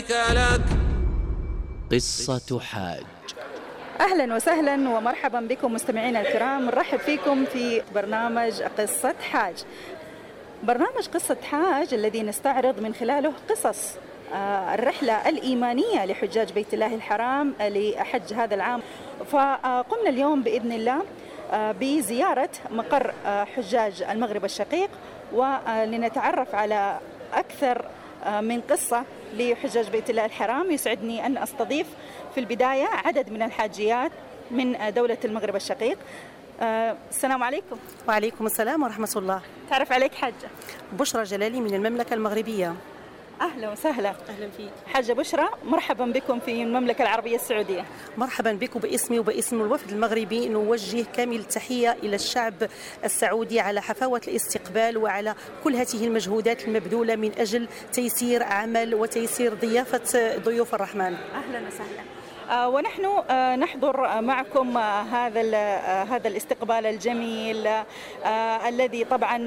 لك. قصة حاج. أهلا وسهلا ومرحبا بكم مستمعينا الكرام، نرحب فيكم في برنامج قصة حاج. برنامج قصة حاج الذي نستعرض من خلاله قصص الرحلة الإيمانية لحجاج بيت الله الحرام لحج هذا العام. فقمنا اليوم بإذن الله بزيارة مقر حجاج المغرب الشقيق، ولنتعرف على أكثر من قصة لحجاج بيت الله الحرام. يسعدني أن أستضيف في البداية عدد من الحاجيات من دولة المغرب الشقيق. السلام عليكم. وعليكم السلام ورحمة الله. تعرف عليك حاجة؟ بشرى جلالي من المملكة المغربية. أهلا وسهلا. أهلا فيك حاجة بشرى، مرحبا بكم في المملكة العربية السعودية. مرحبا بكم باسمي وباسم الوفد المغربي. نوجه كامل التحية إلى الشعب السعودي على حفاوة الاستقبال وعلى كل هذه المجهودات المبذولة من أجل تيسير عمل وتيسير ضيافة ضيوف الرحمن. أهلا وسهلا. ونحن نحضر معكم هذا الاستقبال الجميل الذي طبعا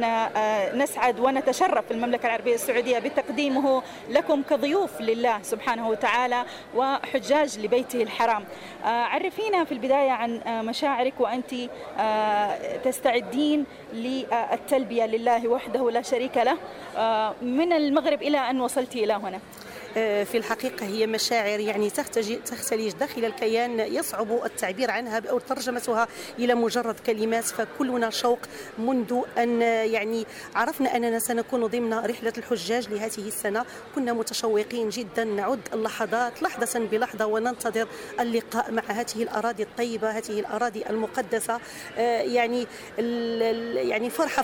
نسعد ونتشرف في المملكة العربية السعودية بتقديمه لكم كضيوف لله سبحانه وتعالى وحجاج لبيته الحرام. عرفينا في البداية عن مشاعرك وأنت تستعدين للتلبية لله وحده لا شريك له من المغرب إلى أن وصلت إلى هنا. في الحقيقة هي مشاعر يعني تختلج داخل الكيان، يصعب التعبير عنها أو ترجمتها إلى مجرد كلمات. فكلنا شوق منذ أن يعني عرفنا أننا سنكون ضمن رحلة الحجاج لهذه السنة. كنا متشوقين جدا، نعد اللحظات لحظة بلحظة وننتظر اللقاء مع هذه الأراضي الطيبة، هذه الأراضي المقدسة. يعني فرحة